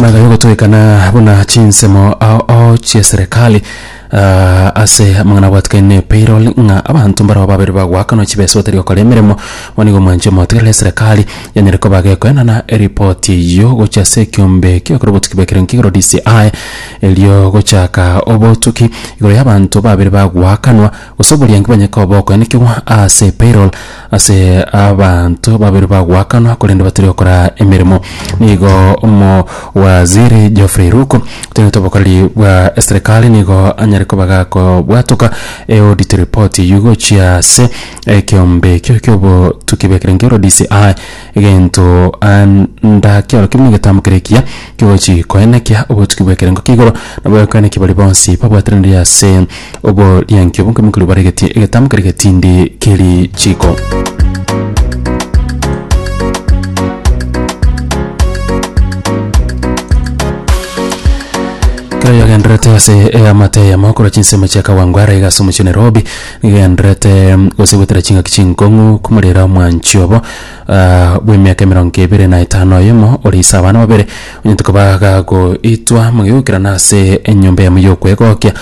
Magega y'ogotoekana buna chinsemo ao ao chi'eserekari ah, ase amang'ana abwatekaine ne payroll ng'a abanto mbarabwo babere bagoakanwa chibesa batari gokora emeremo, bono nigo omwanchi omotigereri eserekari yanyare koba gekoenana eripoti eyio gochia ase ekiombe ki'ogokora obotuki bw'ekerengo kia igoro DCI erio gochaka obotuki igoro y'abanto babere bagoakanwa gose oboriangi bwanyare koba bokoenekigwa ase payroll Ase abanto babere bagoakanwa korende batari gokora emeremo. Nigo omowaziri Geoffrey Ruku otenenete obokoreri bwa eserekari nigo anyare koba gakobwatoka eaudit report eyio gochia ase ekeombe ekio kiobotuki bw'ekerengo ero DCI egento anda kiorokia buna egetambo kere ekiya kigochi koenekia obotuki bw'ekerengo kia igoro nabo ekoenekia baria bonsi babwateranire ase Oborianki obo nkemo keria bare egetambo keria getindi kerichiko. Kero yagendererete ase eamate eyemo korwa chinsemo chia Kawangware iga ase omochie o Nairobi, nigo egendererete gose goetera chingaki chinkong'u komorera omwanchi obo bw'emiaka emerongo ebere na etano oyomo ore ise abana babere, onyente koba gagoitwa mogegokerana ase enyomba eyemo y'okwegokia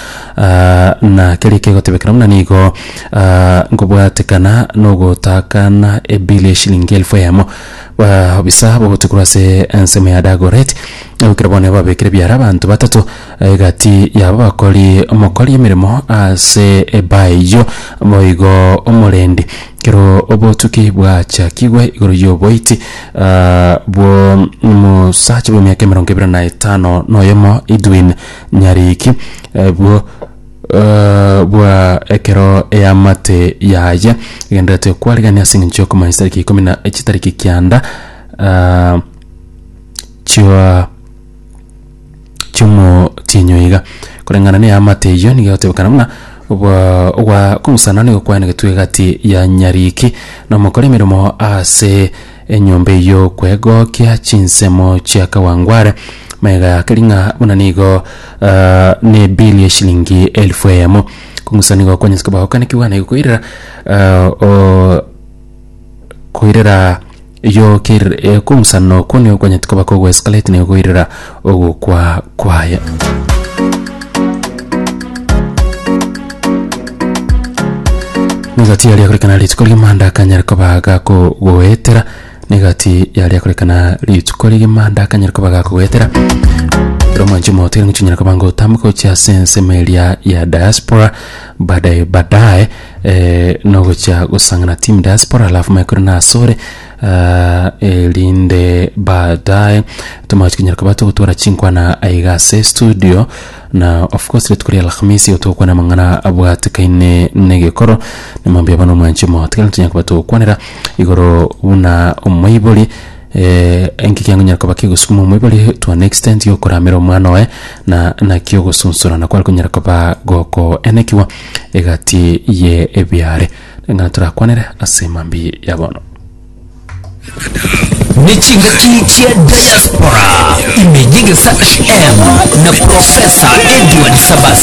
na keria kegotebekana buna nigo nkobwatekana nogotakana ebili eshilingi elfu eyemo. Baobisa bogotukorwa korwa ase ensemo ya Dagoretti, goikera bono babekire ebiara abanto batato egati yabo bakori omokori emeremo ase ebaa eyio boigo omorendi. Ekero obotuki bwachakigwe igoro y'oboiti bw'omosacha bw'emiaka emerongo ebere na etano na oyomo Edwin Nyariki bwo bwa ekero eamate yaye egendererete kwarigania ase eng'encho y'okomanya chitariki ikomi na chitariki kianda chioa chi'omotienyi oiga. Koreng'ana neamate eyio nigo egotebekana buna obwa ogwa kong'usana nigo kwaenegetwe egati ya Nyariki na omokori emeremo ase enyomba eyio okwegokia chinsemo chia Kawangware magega ya keri ng'a buna nigo ne ebill ya eshilingi elfu eyemo. Kong'usa nigo kwanyase koba gokanekigwa na igo koirera koirera Eyio ker kong'usana okwo nigo kwanyete koba kogoescalate nigo koirera ogokwa kwaye. Nigati yaria korekana rituko rigima ndakanyare koba gakogoetera nigati yaria korekana rituko rigima ndakanyare koba gakogoetera ekero omwanchi omotere ngochinyara koba ngotamboka gochia ase ensemo eria ya diaspora baadaye baadaye Eh, nogochia gosang'ana team diaspora alafu manye kore nasore ah, erinde baadaye tomache konyara koba togotwara chinkwana aiga ase studio na of course rituko ria alhamisi igo togokwana amang'ana abwatekaine negekoro nemambia bono omwanchi omogotu ekero tonyara koba togokwanera igoro buna omoibori eh, enki kiangonyara koba kegosukuma omoibori to an extent yokoramera omwana oye na naki ogosunsurana kware konyara koba gokoenekiwa egati ye ebiaare, ng'a torakwanere ase mambia ya bono. Ne chingaki chia diaspora ime y'Egesahm na Professor Edward Sabasa.